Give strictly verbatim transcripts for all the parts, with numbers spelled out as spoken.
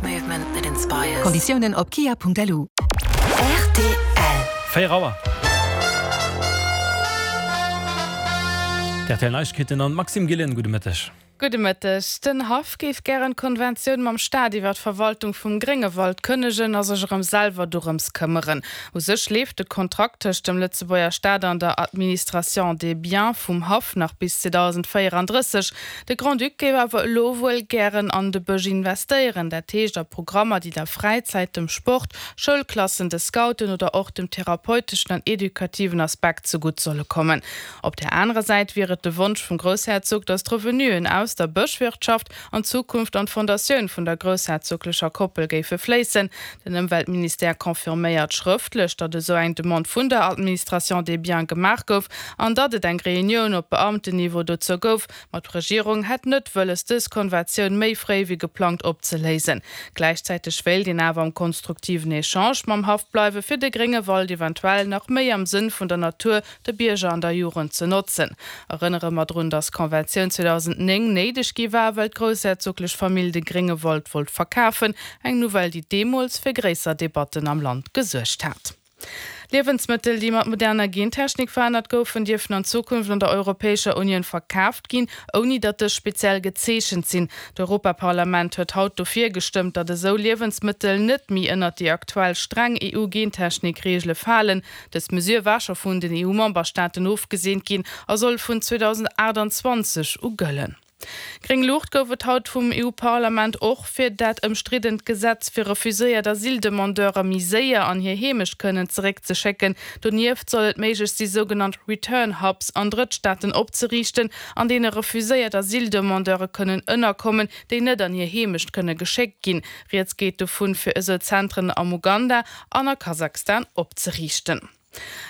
Movement that inspires. Konditiounen op kia.lu. Rtl. Véier Auer. D'RTL Neiegkeeten an Maxime Gillen, gudde Mëtteg. Gudde Mëtteg. Den Haff géif gären d'Konventioun mam Staat iwwer d'Verwaltung vum Gréngewald kënnegen a sech erëm selwer dorëms këmmeren. U sech leeft de Kontrakt tëscht dem Lëtzebuerger Staat an der Administration des biens vum Haff nach bis zweedausendvéierandrësseg. De Grand-Duc géif awer elo wuel gären an de Bësch investéieren, dat heescht a Programmer, déi der Fräizäit, dem Sport, Schoulklassen, de Scouten oder och dem therapeuteschen an edukativen Aspekt zegutt solle kommen. Op där anerer Säit wier et de Wonsch vum Groussherzog, datt d'Revenuen aus der Bëschwirtschaft an Zukunft an d'Fondatioun vun der groussherzoglecher Koppel géife fléissen. Den Ëmweltministère confirméiert schrëftlech, datt esou eng Demande vun der Administration des biens gemaach gouf an datt et eng Reunioun op Beamtenniveau dozou gouf. Ma d'Regierung hätt net wëlles, dës Konventioun méi fréi wéi geplangt opzeléisen. Gläichzäiteg wéilt een awer am konstruktiven Echange mam Haff bleiwen, fir de Gréngewald eventuell nach méi am Sënn vun der Natur, de Bierger an der Jugend ze notzen. Erënnere mer drun, datt d'Konventioun zweedausendnéng néideg gi war, well d'groussherzoglech Famill de Gréngewald wollt verkafen, eng Nouvelle, déi deemools fir gréisser Debatten am Land gesuergt hat. Liewensmëttel, déi mat moderner Gentechnik verännert goufen, dierfen an Zukunft an der Europäescher Unioun verkaaft ginn, ouni datt dës speziell gezeechent sinn. D'Europaparlament huet haut dofir gestëmmt, datt esou Liewensmëttel net méi ënnert déi aktuell streng E U-Gentechnik-Reegele falen. Dës Mesure war scho vun den E U-Memberstaaten ofgeseent ginn a soll vun zweedausendachtanzwanzeg u gëllen. Gréng Luucht gouf et haut vum E U-Parlament och fir dat ëmstriddent Gesetz, fir refuséiert Asyldemandeure méi séier an hir Heemecht kënnen zeréckzeschécken. Donieft soll et méiglech si sougenannt Return Hubs an Drëttstaaten opzeriichten, an deene refuséiert Asyldemandeure kënnen ënnerkommen, déi net an hir Heemecht kënne geschéckt ginn. Rieds geet dovun, fir esou Zentren am Uganda an a Kasachstan opzeriichten.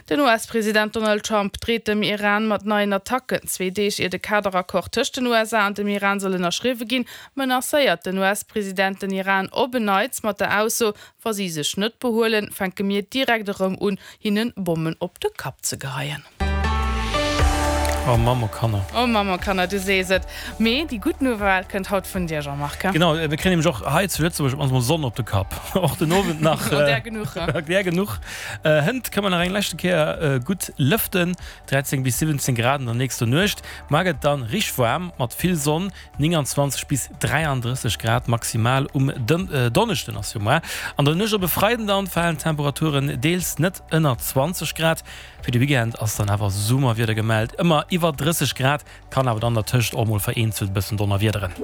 Den U S-President Donald Trump dreet dem Iran mat neien Attacken. Zwee Deeg ier de Kaderaccord tëscht den U S A an dem Iran soll ënnerschriwwe ginn, menacéiert den U S-President den Iran op en Neits mat der Ausso, wa si sech net behuelen, fänke mir direkt erëm un, hinnen Bommen op de Kapp ze geheien. Oh Mamm, oh Kanner. Oh Mamm, oh Kanner, du sees et. Mee déi gutt Nouvelle kënnt haut vun dir, Jean-Marc. Genau, mir kréien nämlech och hei zu Lëtzebuerg op mannst mol Sonn op de Kapp. Och den Owend nach. Oh, där genuch, he? Där genuch. Hënt kënne mer nach eng leschte Kéier gutt lëften, dräizéng bis siwwenzéng Grad an der nächster Nuecht. Mar gëtt dann richteg waarm mat vill Sonn, nénganzwanzeg bis dräiandrësseg Grad maximal um Donneschden ass jo mar. An der Nuecht op e Freiden dann falen d'Temperaturen deels net ënner zwanzeg Grad. Fir de Weekend ass dann awer Summerwieder gemellt, ëmmer iwwer drësseg Grad, kann awer dann dertëscht och mol vereenzelt bëssen donnerwiederen.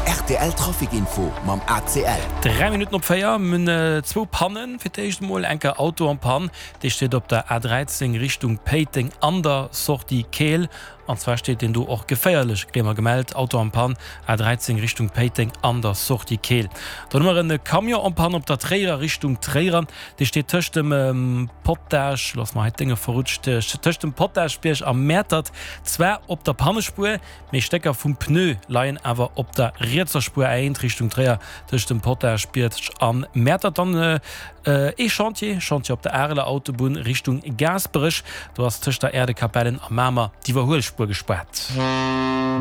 Rtl Trafic Info mam A C L. Dräi Minutten op véier, mir hunn zwou Pannen. Fir d'éischt emol enker Auto en panne, dee steet op der A dräizéng Richtung Péiteng an der Sortie Keel. An zwar steet deen do och geféierlech, kréie mer gemellt. Auto en panne, A dräizéng Richtung Péiteng an der Sortie Keel. Dann hu mer e Camion en panne op der Tréierer Richtung Tréier. Dee steet tëscht dem Potasch, lo ass mer hei d'Dénge verrutscht, tëscht dem Potaschbierg a Mäertert, zwar op der Pannespuer, mee Stécker vum Pneu leien awer op der rietser Spuer. A eent Richtung Tréier tëscht dem Potaschbierg a Mäertert. Dann ee Chantier, Chantier op der Areler Autobunn Richtung Gaasperech. Do ass tëscht der Äerdekapellen a Mamer d'Iwwerhuelspuer gespaart.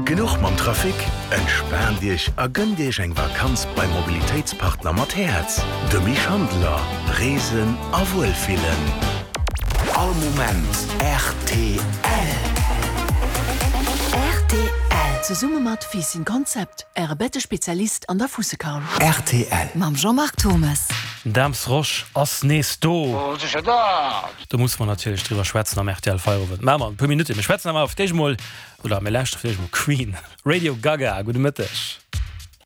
Genuch mam Trafic? Entspaant Iech a gënnt Iech eng Vakanz beim Mobilitéitspartner mat Häerz, dem Misch Handler. Reesen a Wuelfillen. All Moment rtl. Rtl. Zesumme mat Fiissen Concept, Äre Bettespezialist an der Fussekaul. Rtl. Mam Jean-Marc Thomes. Daams Rosch ass nees do. Do musse mer natierlech driwwer schwätzen am R T L Feierowend. Maache mer an e puer Minutten. Mir schwätzen awer fir d'éischt emol, oder mir lauschteren fir d'éischt emol Queen. Radio Gaga. Gudde Mëtteg.